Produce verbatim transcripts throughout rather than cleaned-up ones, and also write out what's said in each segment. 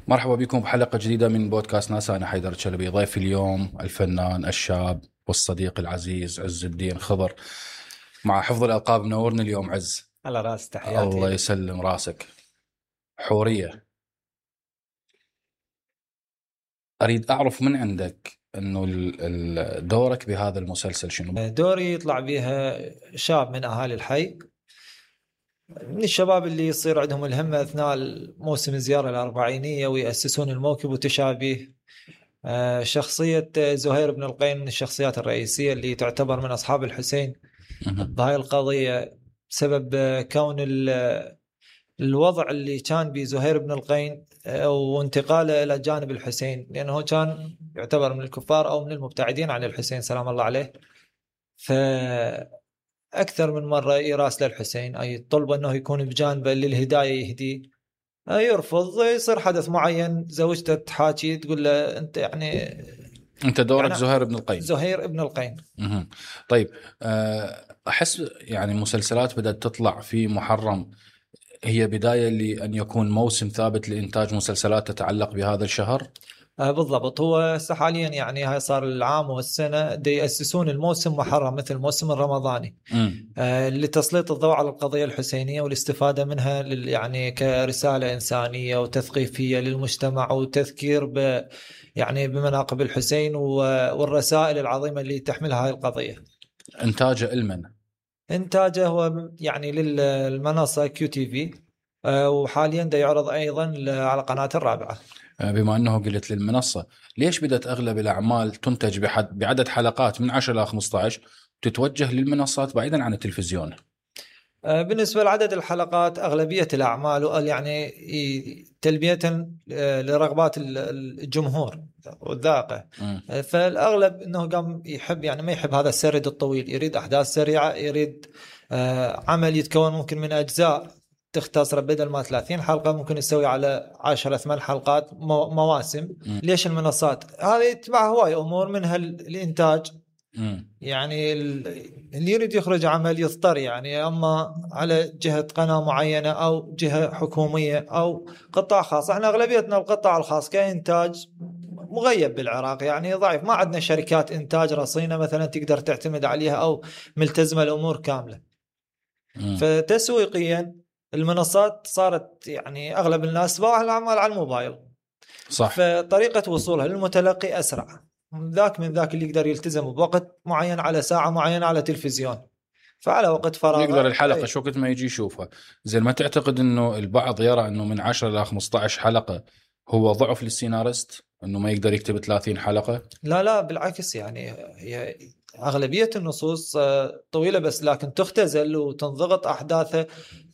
مرحبا بكم بحلقة جديدة من بودكاست ناس. أنا حيدر الشلبي. ضيف اليوم الفنان الشاب والصديق العزيز عز الدين خضر، مع حفظ الألقاب. منورنا اليوم عز. على راس تحياتي. الله يسلم راسك. حورية، أريد أعرف من عندك أنه دورك بهذا المسلسل شنو؟ دوري يطلع بها شاب من أهالي الحي، من الشباب اللي يصير عندهم الهمة أثناء موسم الزيارة الأربعينية ويأسسون الموكب وتشابه. شخصية زهير بن القين من الشخصيات الرئيسية اللي تعتبر من أصحاب الحسين بهاي القضية، بسبب كون الوضع اللي كان بزهير بن القين وانتقاله إلى جانب الحسين، لأنه كان يعتبر من الكفار أو من المبتعدين عن الحسين سلام الله عليه. فأكثر من مرة يراسل الحسين أي طلب أنه يكون بجانبه للهداية يهدي، يرفض. يصير حدث معين، زوجته تحاكي تقول له أنت يعني أنت دورك يعني زهير بن القين. زهير بن القين. مه. طيب، أحس يعني مسلسلات بدأت تطلع في محرم هي بداية لأن يكون موسم ثابت لإنتاج مسلسلات تتعلق بهذا الشهر. آه بالضبط. هو حاليا يعني هاي صار العام والسنة دي يأسسون الموسم محرم مثل الموسم الرمضاني آه لتسليط الضوء على القضية الحسينية والاستفادة منها لل يعني كرسالة إنسانية وتثقيفية للمجتمع وتذكير ب يعني بمناقب الحسين والرسائل العظيمة اللي تحملها هاي القضية. إنتاجه المن إنتاجه هو يعني للمنصة كيو تي في، آه وحاليا دا يعرض أيضا على قناة الرابعة. بما أنه قلت للمنصة، ليش بدأت أغلب الأعمال تنتج بحد بعدد حلقات من عشرة إلى خمسة عشر تتوجه للمنصات بعيدا عن التلفزيون؟ بالنسبة لعدد الحلقات أغلبية الأعمال يعني تلبية لرغبات الجمهور والذاقة، فالأغلب أنه قام يحب يعني ما يحب هذا السرد الطويل، يريد أحداث سريعة، يريد عمل يتكون ممكن من أجزاء تختصر بدل ما ثلاثين حلقة ممكن يسوي على عشرة ثمان حلقات مواسم. م. ليش المنصات هذه تبع هواي أمور منها الإنتاج. م. يعني اللي يريد يخرج عمل يضطر يعني أما على جهة قناة معينة أو جهة حكومية أو قطاع خاص. احنا أغلبيتنا القطاع الخاص كإنتاج مغيب بالعراق، يعني ضعيف، ما عندنا شركات إنتاج رصينة مثلا تقدر تعتمد عليها أو ملتزمة الأمور كاملة. م. فتسويقيا المنصات صارت يعني أغلب الناس باع الأعمال على الموبايل، صح، فطريقة وصولها للمتلقي أسرع. ذاك من ذاك اللي يقدر يلتزم بوقت معين على ساعة معينة على تلفزيون، فعلى وقت فراغ يقدر الحلقة شو وقت ما يجي يشوفها. زي ما تعتقد أنه البعض يرى أنه من عشرة إلى خمسة عشر حلقة هو ضعف للسيناريست أنه ما يقدر يكتب ثلاثين حلقة؟ لا لا بالعكس، يعني هي أغلبية النصوص طويلة بس لكن تختزل وتنضغط أحداثه.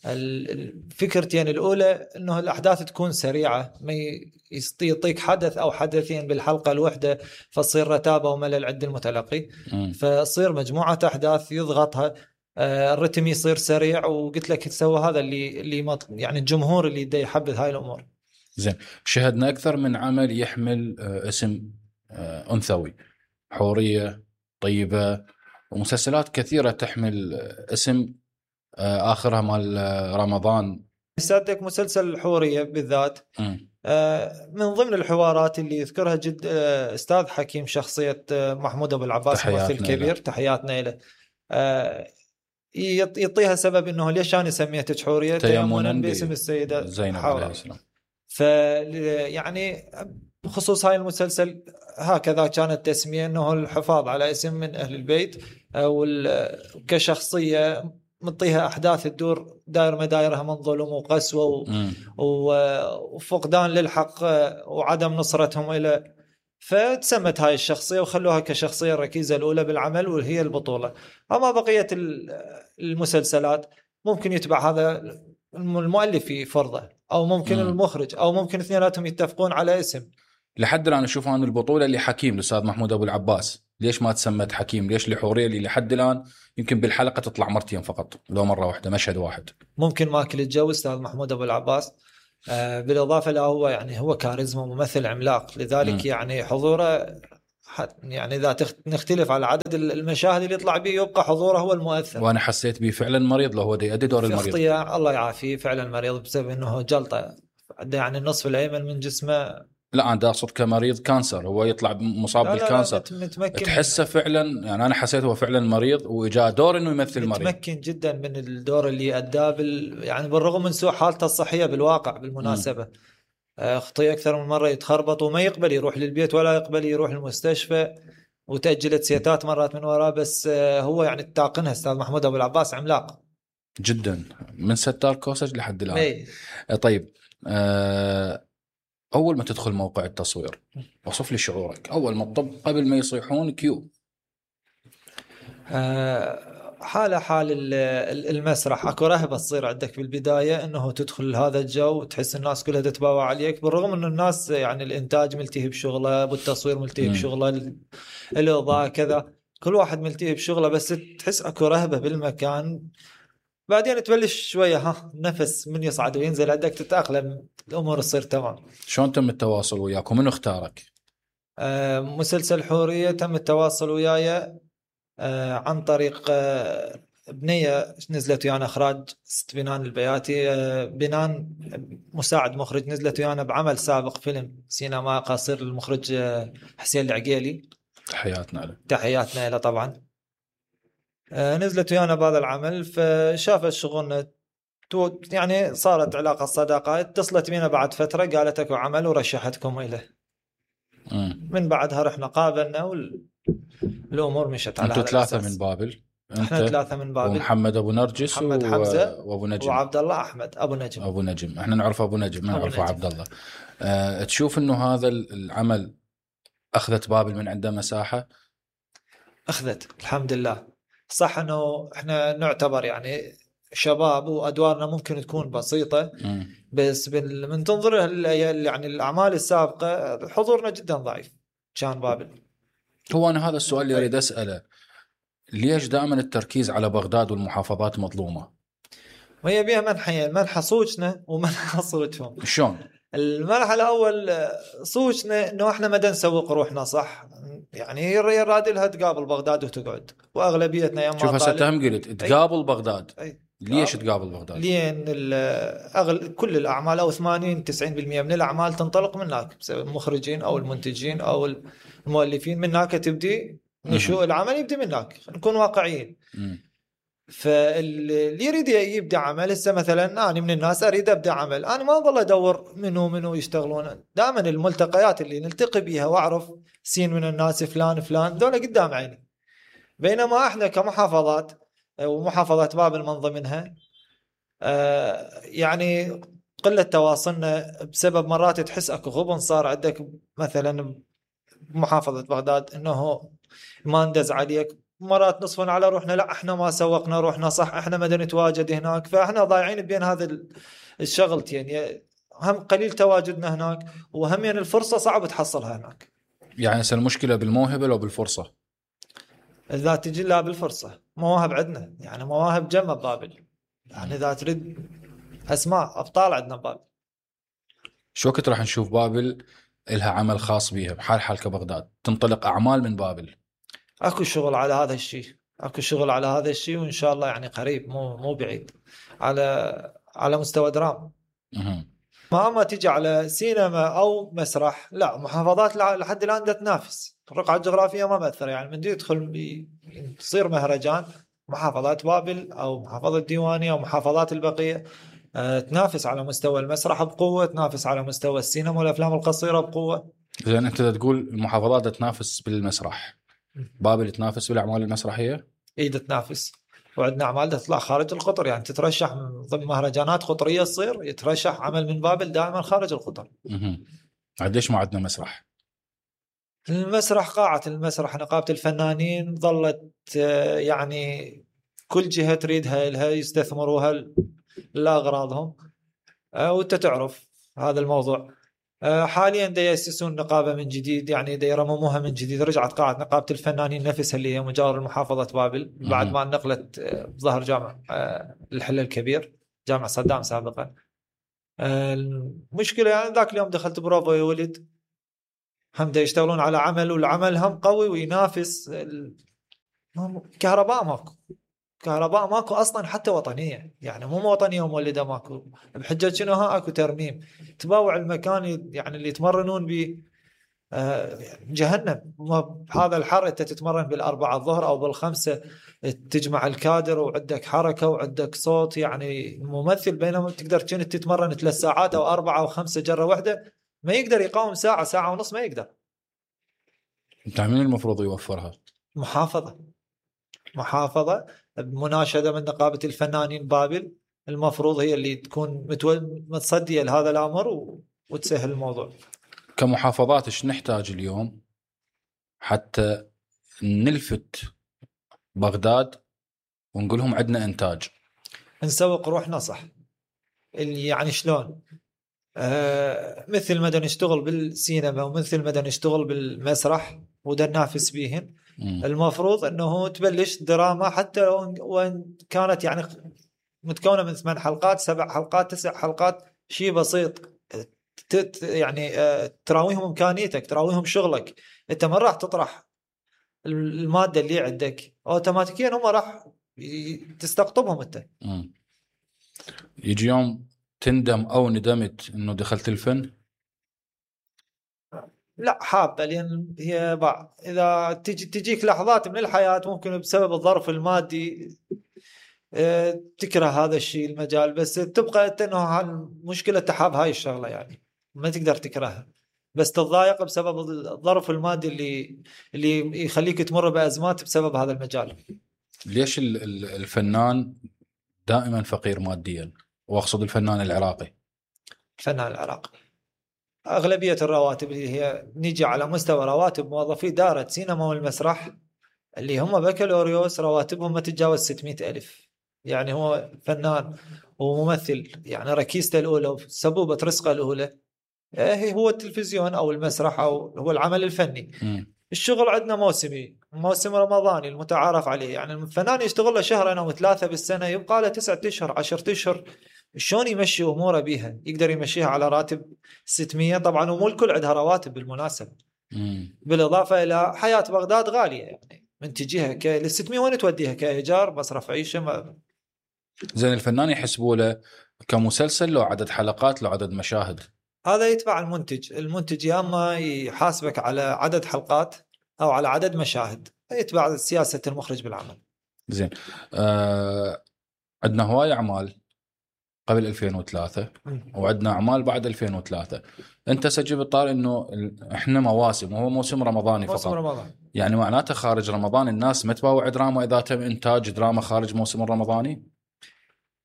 الفكرتين الأولى أنه الأحداث تكون سريعة، ما يعطيك حدث أو حدثين بالحلقة الواحدة فتصير رتابة وملل عند المتلقي، فتصير مجموعة أحداث يضغطها، الرتم يصير سريع. وقلت لك تسوى هذا اللي اللي يعني الجمهور اللي يدي يحبذ هاي الأمور. زين، شهدنا أكثر من عمل يحمل اسم أنثوي، حورية، طيبة، ومسلسلات كثيرة تحمل اسم آخرها مال رمضان. صدق مسلسل الحورية بالذات م. من ضمن الحوارات اللي يذكرها جد أستاذ حكيم شخصية محمود أبو العباس ممثل كبير، تحياتنا له، يعطيها سبب إنه ليش أنا سميتك حورية تيمنا باسم السيدة زينب عليه السلام. ف يعني بخصوص هاي المسلسل هكذا كانت تسمية أنه الحفاظ على اسم من أهل البيت، وكشخصية مطيها أحداث الدور داير مدايرها من ظلم وقسوة وفقدان للحق وعدم نصرتهم إلى، فتسمت هاي الشخصية وخلوها كشخصية الركيزة الأولى بالعمل وهي البطولة. أما بقية المسلسلات ممكن يتبع هذا المؤلف في فرضه أو ممكن م. المخرج أو ممكن اثنيناتهم يتفقون على اسم. لحد الآن أشوف أن البطولة اللي حكيم الأستاذ محمود أبو العباس، ليش ما تسمت حكيم؟ ليش لحورية اللي لحد الآن يمكن بالحلقة تطلع مرتين فقط لو مرة واحدة مشهد واحد؟ ممكن ما كل الجو أستاذ محمود أبو العباس، آه بالإضافة له هو يعني هو كاريزما ممثل عملاق، لذلك م. يعني حضوره يعني إذا نختلف على عدد المشاهد اللي يطلع به يبقى حضوره هو المؤثر. وأنا حسيت به فعلا مريض، له هو دي أدي دور المريض. الله يعافيه، فعلا مريض بسبب أنه جلطة عنده يعني النصف الايمن من جسمه. لا انا اقصد كمريض كانسر، هو يطلع مصاب لا لا بالكانسر لا متمكن، تحسه فعلا يعني. انا حسيت هو فعلا مريض واجاه دور انه يمثل مريض، متمكن جدا من الدور اللي اداه بال... يعني بالرغم من سوء حالته الصحيه بالواقع بالمناسبه. م. خطي اكثر من مره يتخربط وما يقبل يروح للبيت ولا يقبل يروح المستشفى، وتاجلت سيتات مرات من وراه، بس هو يعني التاقنها استاذ محمود ابو العباس عملاق جدا من ستار كوسج لحد الان. مي. طيب أه اول ما تدخل موقع التصوير وصف لي شعورك اول ما تطب قبل ما يصيحون كيو. أه حالة حال المسرح، اكو رهبة تصير عندك بالبداية انه تدخل هذا الجو وتحس الناس كلها تتباوع عليك، بالرغم انه الناس يعني الانتاج ملتهي بشغله، بالتصوير ملتهي بشغله، الاضاءة كذا، كل واحد ملتهي بشغله، بس تحس اكو رهبة بالمكان. بعدين تبلش شوية ها نفس من يصعد وينزل عندك تتأقلم، الامور تصير تمام. شلون تم التواصل وياك ومن اختارك؟ أه مسلسل حورية تم التواصل وياي آه عن طريق آه بنية نزلت ويانا إخراج ست بنان البياتي، آه بنان مساعد مخرج نزلت ويانا بعمل سابق فيلم سينما قصير للمخرج آه حسين العقيلي، تحياتنا له. تحياتنا له طبعا. آه نزلت ويانا بهذا العمل، فشافت شغلنا يعني صارت علاقة صداقة، اتصلت بينا بعد فترة قالت اكو عمل ورشحتكم إليه. م. من بعدها رحنا قابلنا وال الامور مشت على انتوا ثلاثه من بابل؟ احنا ثلاثه من بابل، ومحمد ابو نرجس محمد و... حمزه وابو نجم وعبد الله احمد ابو نجم. ابو نجم احنا نعرف ابو نجم، ما نعرفه عبد الله. أه تشوف انه هذا العمل اخذت بابل من عنده مساحه؟ اخذت الحمد لله. صح انه احنا نعتبر يعني شباب وادوارنا ممكن تكون بسيطه، م. بس من تنظر يعني الاعمال السابقه حضورنا جدا ضعيف كان بابل. هو انا هذا السؤال اللي اريد اساله، ليش دائما التركيز على بغداد والمحافظات مظلومه؟ وهي بها منحين، منحى صوتنا ومنحى صوتهم. شلون؟ المنحى الاول صوتنا انه احنا ما نسوق روحنا صح، يعني يراد لها تقابل بغداد وتقعد، واغلبيتنا يا شوف هسه تهم قلت تقابل بغداد. أي. ليش تقابل بغداد؟ لين أغل... كل الاعمال او ثمانين تسعين بالمئة من الاعمال تنطلق من هناك، بسبب المخرجين او المنتجين او المؤلفين، من هناك تبدي نشوء العمل، يبدي من هناك، نكون واقعيين. م. فاللي يريد يبدا عمل هسه مثلا انا من الناس اريد ابدا عمل، انا ما اظل ادور منو منو يشتغلون، دائما الملتقيات اللي نلتقي بيها واعرف سين من الناس فلان فلان دول قدام عيني. بينما احنا كمحافظات ومحافظات بابل من ضمنها آه يعني قله تواصلنا، بسبب مرات تحس اكو غبن صار عندك مثلا بمحافظه بغداد انه ما ندز عليك، مرات نصفنا على روحنا لا احنا ما سوقنا روحنا صح، احنا ما نتواجد هناك، فاحنا ضايعين بين هذا الشغلتين، يعني هم قليل تواجدنا هناك، وهم يعني الفرصه صعب تحصلها هناك. يعني هسه المشكله بالموهبه لو بالفرصه؟ اذا تجي لا بالفرصه، مواهب عندنا يعني مواهب جمة بابل، يعني اذا تريد اسماء ابطال عندنا بابل. شو وقت راح نشوف بابل لها عمل خاص بيها بحال حال كبغداد تنطلق اعمال من بابل؟ اكو شغل على هذا الشيء، اكو شغل على هذا الشيء، وان شاء الله يعني قريب مو مو بعيد، على على مستوى درام. اها ما ما تيجي على سينما او مسرح، لا محافظات لحد الان دا تنافس، الرقعه الجغرافيه ما مأثر، يعني من يدخل يصير مهرجان محافظات بابل او محافظه الديوانيه او محافظات البقيه أه تنافس على مستوى المسرح بقوه، تنافس على مستوى السينما والافلام القصيره بقوه. زين انت تقول المحافظات تنافس بالمسرح، بابل تنافس بالاعمال المسرحيه؟ اي تنافس، وعندنا اعمال تطلع خارج القطر، يعني تترشح من ضمن مهرجانات قطريه، تصير يترشح عمل من بابل دائما خارج القطر. اها قديش ما عندنا مسرح؟ المسرح قاعة المسرح نقابة الفنانين ظلت يعني كل جهة تريدها لها يستثمروها لأغراضهم، وانت تعرف هذا الموضوع. حاليا دا يأسسون نقابة من جديد، يعني دا يرمموها من جديد، رجعت قاعة نقابة الفنانين نفسها اللي هي مجاور محافظة بابل بعد ما نقلت بظهر جامع الحل الكبير جامع صدام سابقا. المشكلة يعني ذاك اليوم دخلت بروفا يا ولد، هم دا يشتغلون على عمل، والعمل هم قوي وينافس، كهرباء ماكو، كهرباء ماكو اصلا حتى وطنيه، يعني مو وطنيه ومولده ماكو، بحجه شنو ها اكو ترميم. تباوع المكان يعني اللي يتمرنون به آه جهنم. بهذا الحر انت تتمرن بالاربعه الظهر او بالخمسه، تجمع الكادر وعندك حركه وعندك صوت يعني ممثل، بينما تقدر كنت تتمرن ثلاث ساعات او اربعه او خمسه جره واحده، ما يقدر يقاوم ساعه ساعه ونص، ما يقدر. انت مين المفروض يوفرها؟ محافظه محافظه بمناشده من نقابه الفنانين بابل، المفروض هي اللي تكون متصديه لهذا الامر و... وتسهل الموضوع. كمحافظات ايش نحتاج اليوم حتى نلفت بغداد ونقول لهم عندنا انتاج؟ نسوق روحنا صح. اللي يعني شلون؟ آه مثل ما نشتغل بالسينما ومثل ما نشتغل بالمسرح ودا ننافس بيهن، المفروض انه تبلش دراما حتى وان كانت يعني متكونه من ثمان حلقات سبع حلقات تسع حلقات، شيء بسيط يعني آه تراويهم امكانيتك، تراويهم شغلك. انت ما راح تطرح الماده اللي عندك اوتوماتيكيا، هم راح تستقطبهم انت. مم. يجي يوم تندم او ندمت انه دخلت الفن؟ لا حابه، لان هي بعض اذا تجي تجيك لحظات من الحياه ممكن بسبب الظرف المادي تكره هذا الشيء المجال، بس تبقى انت انه المشكله تحاب هاي الشغله، يعني ما تقدر تكرهها، بس تتضايق بسبب الظرف المادي اللي اللي يخليك تمر بازمات بسبب هذا المجال. ليش الفنان دائما فقير ماديا؟ واقصد الفنان العراقي. الفنان العراقي أغلبية الرواتب اللي هي نيجي على مستوى رواتب موظفي دارة سينما والمسرح اللي هم بكالوريوس، رواتبهم ما تتجاوز ستمائة ألف. يعني هو فنان وممثل، يعني ركيزته الأولى وسبوبة رزقه الأولى هو التلفزيون أو المسرح أو هو العمل الفني. م. الشغل عندنا موسمي، موسم رمضاني المتعارف عليه، يعني الفنان يشتغل له شهرين أو ثلاثة بالسنة، يبقى له تسعة أشهر عشرة أشهر شلون يمشي أموره بيها؟ يقدر يمشيها على راتب ستمائة؟ طبعا ومو الكل عندها رواتب بالمناسبة. مم. بالإضافة إلى حياة بغداد غالية، يعني من تجيها ك... لل ستمائة وين توديها؟ كإيجار مصرف عيشة ما... زين الفنان يحسبوا له كمسلسل لو عدد حلقات لو عدد مشاهد؟ هذا يتبع المنتج. المنتج يا اما يحاسبك على عدد حلقات او على عدد مشاهد، يتبع سياسة المخرج بالعمل. زين آه... عندنا هواي اعمال قبل ألفين وثلاثة وعندنا اعمال بعد ألفين وثلاثة. انت سجل بالطار انه احنا مواسم وهو موسم رمضاني فقط. موسم رمضان. يعني معناته خارج رمضان الناس ما تباوع دراما اذا تم انتاج دراما خارج موسم الرمضاني؟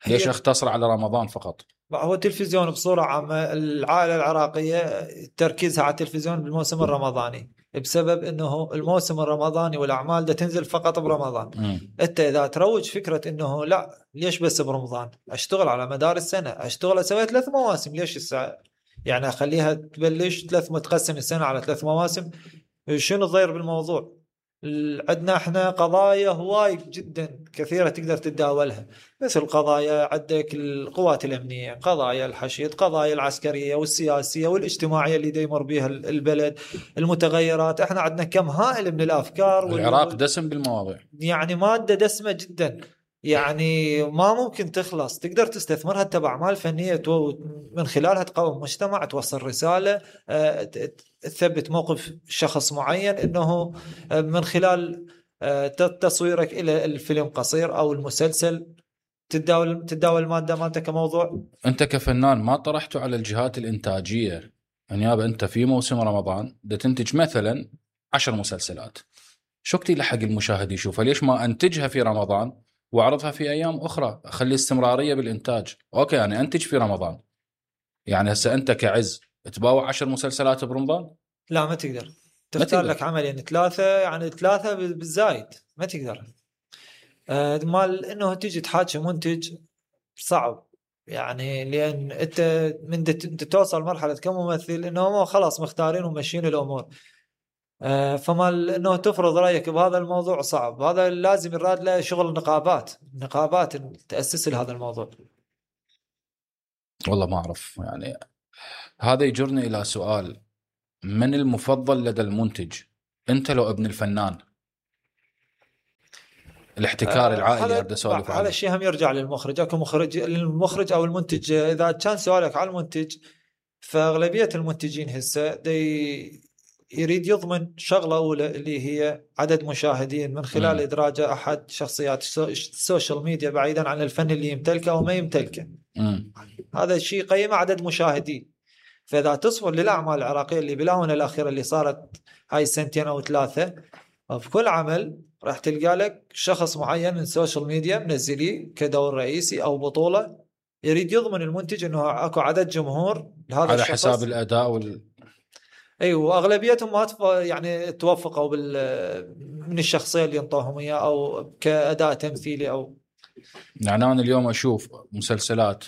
ليش اختصر على رمضان فقط؟ هو التلفزيون بصورة عامة العائلة العراقية تركيزها على التلفزيون بالموسم الرمضاني، بسبب انه الموسم الرمضاني والاعمال ده تنزل فقط برمضان. م. انت اذا تروج فكرة انه لا ليش بس برمضان، اشتغل على مدار السنة، اشتغل اسوي ثلاث مواسم، ليش الساعة يعني اخليها تبلش ثلاث متقسم السنة على ثلاث مواسم؟ شنو الضير بالموضوع؟ عندنا احنا قضايا هواي جدا كثيرة تقدر تتداولها، مثل قضايا عندك القوات الأمنية، قضايا الحشد، قضايا العسكرية والسياسية والاجتماعية اللي يمر بها البلد، المتغيرات. احنا عندنا كم هائل من الأفكار. العراق دسم بالمواضيع، يعني مادة دسمة جدا، يعني ما ممكن تخلص. تقدر تستثمرها تبع أعمال فنية من خلالها تقوم مجتمع، توصل رسالة، تثبت موقف شخص معين، انه من خلال تصويرك الى الفيلم قصير او المسلسل تتداول تتداول الماده مالته كموضوع. انت كفنان ما طرحته على الجهات الانتاجيه؟ يعني انت في موسم رمضان ده تنتج مثلا عشر مسلسلات، شو كتير لحق المشاهد يشوفها؟ ليش ما انتجها في رمضان واعرضها في ايام اخرى؟ اخلي استمراريه بالانتاج. اوكي يعني انتج في رمضان، يعني هسه انت كعز تباوع عشر مسلسلات برمضان؟ لا ما تقدر. تختار لك عمل يعني ثلاثة، يعني ثلاثة بالزايد ما تقدر. آه مال انه تيجي تحاكي منتج صعب، يعني لان انت من انت توصل مرحلة كممثل انه خلاص مختارين وماشيين الامور، آه فمال انه تفرض رايك بهذا الموضوع صعب. هذا لازم يراد له شغل نقابات، نقابات تأسس لهذا الموضوع. والله ما اعرف. يعني هذا يجرني الى سؤال، من المفضل لدى المنتج؟ انت لو ابن الفنان؟ الاحتكار العائلي هذا ابدا اسولف هذا عنه. الشيء هم يرجع للمخرج. اكو مخرج، المخرج او المنتج. اذا كان سؤالك على المنتج، فاغلبيه المنتجين هسه دي يريد يضمن شغله اولى اللي هي عدد مشاهدين من خلال مم. ادراجه احد شخصيات السوشيال ميديا بعيدا عن الفن اللي يمتلكه او ما يمتلكه. مم. هذا الشيء قيم عدد مشاهدين. فاذا تصفر للاعمال العراقيه اللي بالاونه الاخيره اللي صارت هاي السنتين او ثلاثه، في كل عمل راح تلقى لك شخص معين من السوشيال ميديا منزليه كدور رئيسي او بطوله، يريد يضمن المنتج انه اكو عدد جمهور لهذا على الشخص حساب الاداء وال... اي، واغلبيتهم ما تف... يعني توفقوا بال من الشخصيه اللي انطوهم اياه او كاداء تمثيلي او. يعني انا اليوم اشوف مسلسلات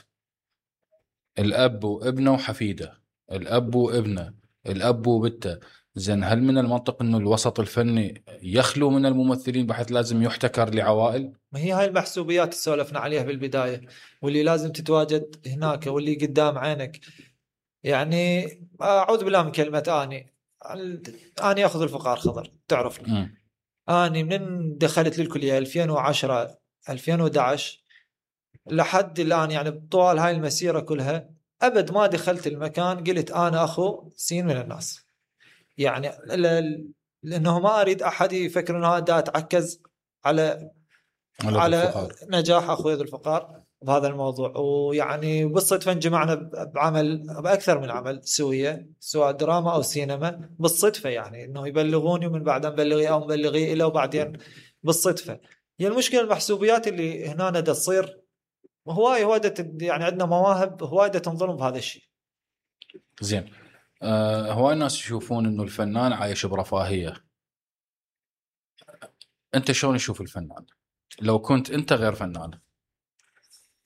الاب وابنه وحفيده، الاب وابنه، الاب وبنته. زين، هل من المنطق انه الوسط الفني يخلو من الممثلين بحيث لازم يحتكر لعوائل؟ ما هي هاي المحسوبيات اللي سولفنا عليها بالبدايه، واللي لازم تتواجد هناك واللي قدام عينك. يعني اعوذ بالله من كلمه اني اني اخذ الفقار خضر، تعرفني. مم. اني من دخلت للكليه ألفين وعشرة ألفين وأحد عشر لحد الان، يعني طوال هاي المسيره كلها ابد ما دخلت المكان قلت انا اخو سين من الناس. يعني ل- لانه ما اريد احد يفكر انه هذا اتعكز على على على الفقار. نجاح اخوي ذو الفقار بهذا الموضوع. ويعني بالصدفه انجمعنا بعمل باكثر من عمل سويه، سواء دراما او سينما، بالصدفه يعني انه يبلغوني ومن بعدين مبلغي او مبلغي له وبعدين بالصدفه. هي المشكله المحسوبيات اللي هنا دا تصير هواي هواي يعني عندنا مواهب هواي تنظلم بهذا الشيء. زين، آه هواي الناس يشوفون انه الفنان عايش برفاهيه. انت شلون تشوف الفنان لو كنت انت غير فنان؟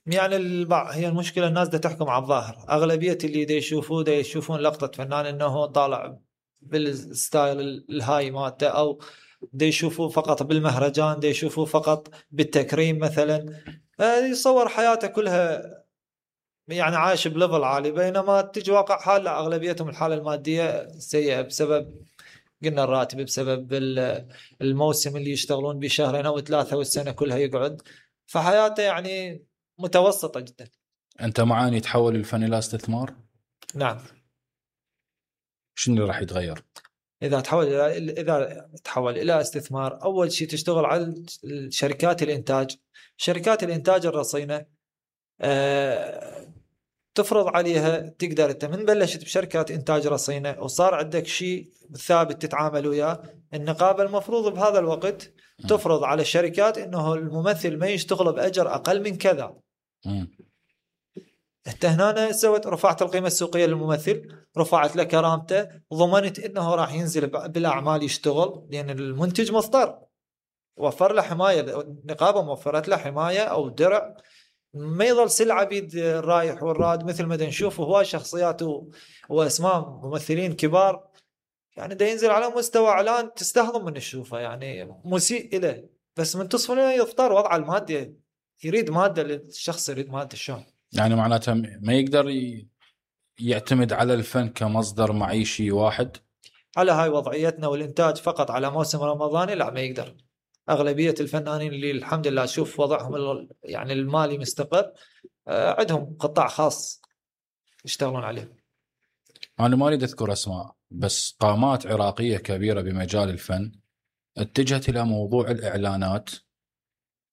يعني البعض، هي المشكله الناس دا تحكم على الظاهر. اغلبيه اللي دا يشوفوه دا يشوفون لقطه فنان انه هو طالع بالستايل الهاي مالته، او دا يشوفوه فقط بالمهرجان، دا يشوفوه فقط بالتكريم مثلا. يصور حياته كلها يعني عايش بليفل عالي، بينما تجي واقع حال لا، اغلبيتهم الحاله الماديه سيئه بسبب قلنا الراتب، بسبب الموسم اللي يشتغلون بشهرين او ثلاثه والسنه كلها يقعد. فحياته يعني متوسطه جدا. انت معاني يتحول الفن الى استثمار؟ نعم. شنو اللي راح يتغير اذا تحول الى اذا تحول الى استثمار؟ اول شيء تشتغل على شركات الانتاج. شركات الانتاج الرصينه أه تفرض عليها، تقدر انت من بلشت بشركات انتاج رصينه وصار عندك شيء ثابت تتعامل وياه، النقابه المفروض بهذا الوقت تفرض على الشركات انه الممثل ما يشتغل باجر اقل من كذا. مم. انت هنا سوت رفعت القيمه السوقيه للممثل، رفعت له كرامته، ضمنت انه راح ينزل بالاعمال يشتغل، لان المنتج مضطر. وفر له حمايه، النقابه موفرت له حمايه او درع، ما يظل سلعه بيد الرايح والراد مثل ما نشوف هواي شخصيات واسماء ممثلين كبار يعني دا ينزل على مستوى اعلان تستهضم من تشوفه، يعني مسيء له. بس من تصفى له يضطر وضع المادة، يريد ماده، الشخص يريد ماده. شلون يعني معناته ما يقدر ي... يعتمد على الفن كمصدر معيشي واحد؟ على هاي وضعيتنا والإنتاج فقط على موسم رمضاني لا، ما يقدر. أغلبية الفنانين اللي الحمد لله أشوف وضعهم يعني المالي مستقر، عندهم قطاع خاص يشتغلون عليه. أنا ما أريد أذكر أسماء، بس قامات عراقية كبيرة بمجال الفن اتجهت إلى موضوع الإعلانات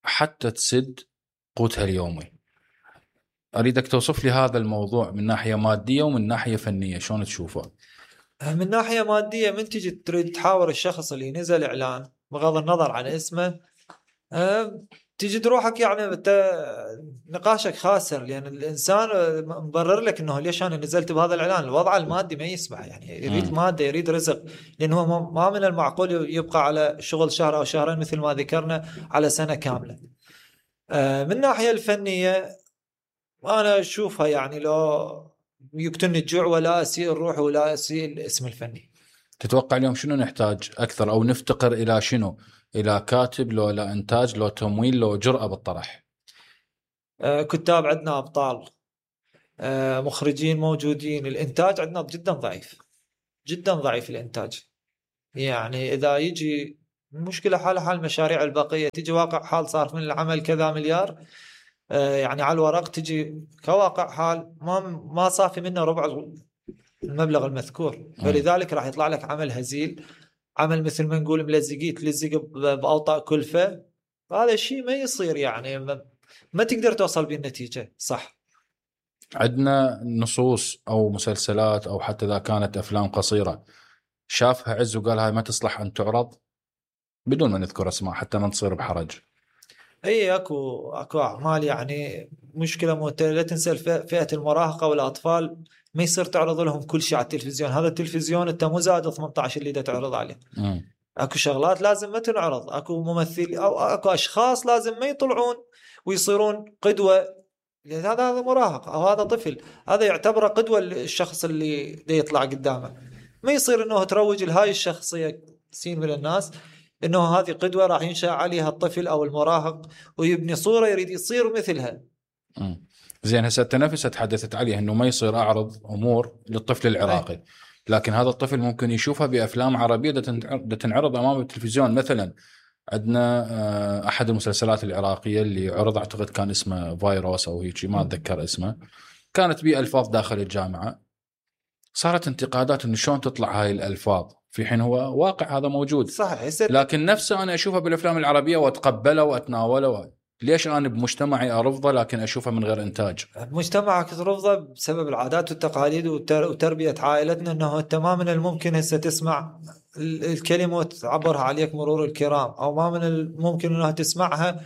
حتى تسد قوتها اليومي. أريدك توصف لي هذا الموضوع من ناحية مادية ومن ناحية فنية، شلون تشوفه؟ من ناحية مادية، من تجي تريد تحاور الشخص اللي نزل إعلان بغض النظر عن اسمه، تجي روحك يعني نقاشك خاسر، لأن الإنسان مبرر لك إنه ليش أنا نزلت بهذا الإعلان. الوضع المادي ما يسمح، يعني يريد مادة، يريد رزق، لأنه ما من المعقول يبقى على شغل شهر أو شهرين مثل ما ذكرنا على سنة كاملة. من الناحية الفنية أنا أشوفها يعني لو يقتلني الجوع ولا أسيء الروح ولا أسيء الاسم الفني. تتوقع اليوم شنو نحتاج أكثر، أو نفتقر إلى شنو؟ إلى كاتب، لو لا إنتاج، لو تمويل، لو جرأة بالطرح؟ آه كتاب عندنا أبطال، آه مخرجين موجودين، الإنتاج عندنا جدا ضعيف، جدا ضعيف الإنتاج. يعني إذا يجي المشكله حال حال المشاريع الباقيه، تجي واقع حال صار من العمل كذا مليار، آه يعني على الورق، تجي كواقع حال ما ما صافي منه ربع المبلغ المذكور، فلذلك راح يطلع لك عمل هزيل، عمل مثل ما نقول ملزقين تلزق باوطاء كلفه. هذا الشيء ما يصير، يعني ما, ما تقدر توصل به النتيجه صح. عندنا نصوص او مسلسلات او حتى اذا كانت افلام قصيره شافها عز وقال هاي ما تصلح ان تعرض، بدون ما نذكر اسماء حتى ما تصير بحرج. اي اكو اكو اعمال يعني مشكله مو لا تنسى فئه المراهقه والاطفال، ما يصير تعرض لهم كل شيء على التلفزيون. هذا التلفزيون انت مو زاد ثمانية عشر اللي دا تعرض عليه. م. اكو شغلات لازم ما تنعرض، اكو ممثل او اكو اشخاص لازم ما يطلعون ويصيرون قدوه. هذا هذا مراهق او هذا طفل، هذا يعتبر قدوه الشخص اللي دا يطلع قدامه. ما يصير انه تروج لهاي الشخصيه سين من الناس انه هذه قدوه راح ينشأ عليها الطفل او المراهق ويبني صوره يريد يصير مثلها. م. زين هسه انت نفسها تحدثت عليه انه ما يصير اعرض امور للطفل العراقي. أي. لكن هذا الطفل ممكن يشوفها بافلام عربيه دا تنعرض امام التلفزيون. مثلا عندنا احد المسلسلات العراقيه اللي عرض اعتقد كان اسمه فيروس او هيك ما اتذكر اسمه، كانت به الفاظ داخل الجامعه، صارت انتقادات انه شلون تطلع هاي الالفاظ في حين هو واقع هذا موجود. صحيح. لكن نفسه انا اشوفه بالافلام العربيه واتقبله واتناوله. ليش انا بمجتمعي ارفضه لكن اشوفه من غير انتاج؟ مجتمعك ترفضه بسبب العادات والتقاليد وتربيه عائلتنا، انه انت ما من الممكن هسه تسمع الكلمه وتعبرها عليك مرور الكرام، او ما من الممكن انها تسمعها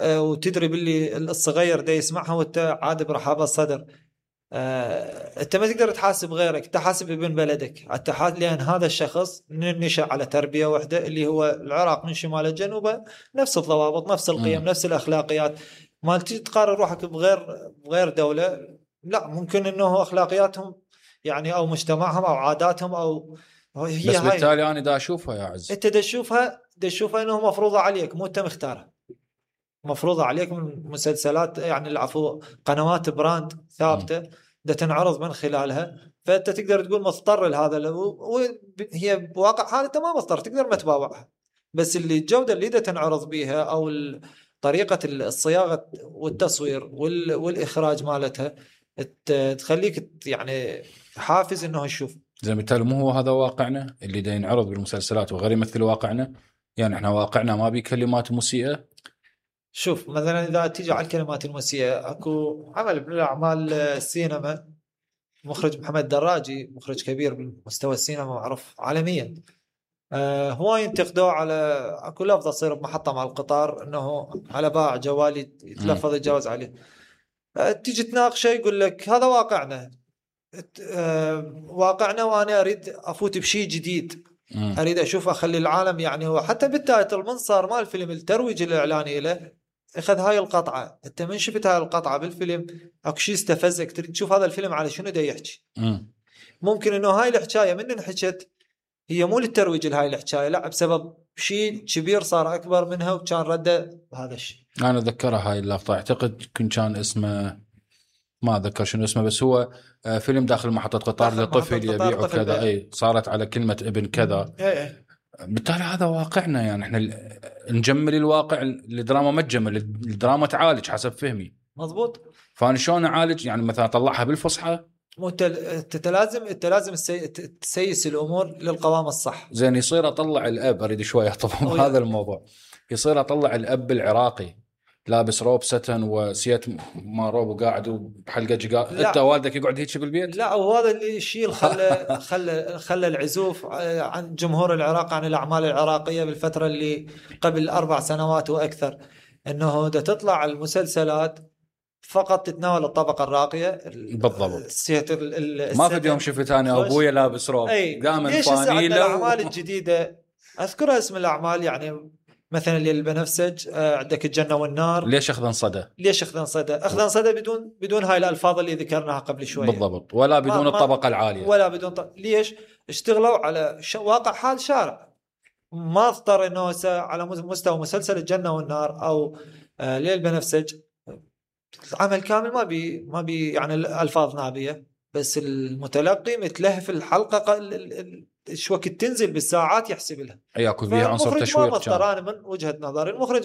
وتدري باللي الصغير ده يسمعها وانت عاد برحابه الصدر. آه، انت ما تقدر تحاسب غيرك، انت حاسب ابن بلدك، انت حاسب لان هذا الشخص نشأ على تربيه واحده اللي هو العراق من شمال لجنوبه، نفس الضوابط نفس القيم م. نفس الاخلاقيات. ما تجي تقارن روحك بغير بغير دوله، لا ممكن انه اخلاقياتهم يعني او مجتمعهم او عاداتهم او هي بس بالتالي انا دا اشوفها يا عز، انت دا تشوفها دا تشوفها انه مفروضه عليك مو انت مختارها، مفروضة عليك من مسلسلات يعني العفو قنوات براند ثابتة م. ده تنعرض من خلالها، فأنت تقدر تقول مضطر لهذا، وهي بواقع حال أنت ما مضطر تقدر ما تباوعها، بس اللي الجودة اللي ده تنعرض بيها أو طريقة الصياغة والتصوير والإخراج مالتها تخليك يعني حافز إنه يشوف. زي بالتالي مو هو هذا واقعنا اللي ده ينعرض بالمسلسلات وغير يمثل واقعنا؟ يعني إحنا واقعنا ما بيه كلمات مسيئة. شوف مثلا إذا تيجي على الكلمات المسيئة، أكو عمل من الأعمال السينما مخرج محمد دراجي، مخرج كبير بمستوى السينما معروف عالميا، آه هو ينتقدوه على أكو لفظة تصير بمحطة مع القطار إنه على باع جوالي يتلفظ يتجاوز عليه، آه تيجي تناقشه يقول لك هذا واقعنا، آه واقعنا وأنا أريد أفوت بشيء جديد، م. أريد أشوف أخلي العالم يعني هو حتى بالتايتل المنصار مال الفيلم الترويج الإعلاني له اخذ هاي القطعه، انت من شفت هاي القطعه بالفيلم اكو شيء استفزك تريد تشوف هذا الفيلم على شنو دا يحكي. م. ممكن انه هاي الحكايه من انحكت هي مو للترويج لهاي الحكايه، لا بسبب شيء كبير صار اكبر منها وكان رده بهذا الشيء. انا اتذكرها هاي اللقطه، اعتقد كان اسمه ما اتذكر شنو اسمه، بس هو فيلم داخل محطه قطار لطفل يبيع وكذا، اي صارت على كلمه ابن كذا. اي اي. بالتالي هذا واقعنا، يعني احنا نجمل الواقع، الدراما ما تجمل، الدراما تعالج حسب فهمي. مضبوط. فانا شلون اعالج؟ يعني مثلا اطلعها بالفصحى؟ مو انت لازم انت لازم تسيس الامور للقوام الصح. زين يصير اطلع الاب، اريد شويه اطلب هذا الموضوع، يصير اطلع الاب العراقي لابس روب ستن وسيت ما روب وقاعد بحلقه جقال، انت والدك يقعد هيك بالبيت؟ لا، وهذا اللي الشيء خلى خلى خلى العزوف عن جمهور العراق عن الاعمال العراقيه بالفتره اللي قبل اربع سنوات واكثر، انه ده تطلع المسلسلات فقط تتناول الطبقه الراقيه بالضبط. ال ما في يوم شفت انا ابويا لابس روب دائما فانيله. الاعمال الجديده اذكرها اسم الاعمال يعني مثلا اللي البنفسج، عندك الجنة والنار. ليش أخذن صدى؟ ليش أخذن صدى؟ أخذن صدى بدون بدون هاي الألفاظ اللي ذكرناها قبل شوية. بالضبط، ولا بدون الطبقة العالية. ولا بدون ط... ليش؟ اشتغلوا على ش... واقع حال شارع. ما اضطر إنه س... على مستوى مسلسل الجنة والنار أو آه ليل البنفسج عمل كامل ما بي ما بي يعني الألفاظ نابية، بس المتلقي متلهف الحلقة ال... ال... شو وقت تنزل بالساعات يحسب لها. اي اكو فيها عنصر فالمخرج ما تشويق مضطر، كان. انا من وجهة نظري المخرج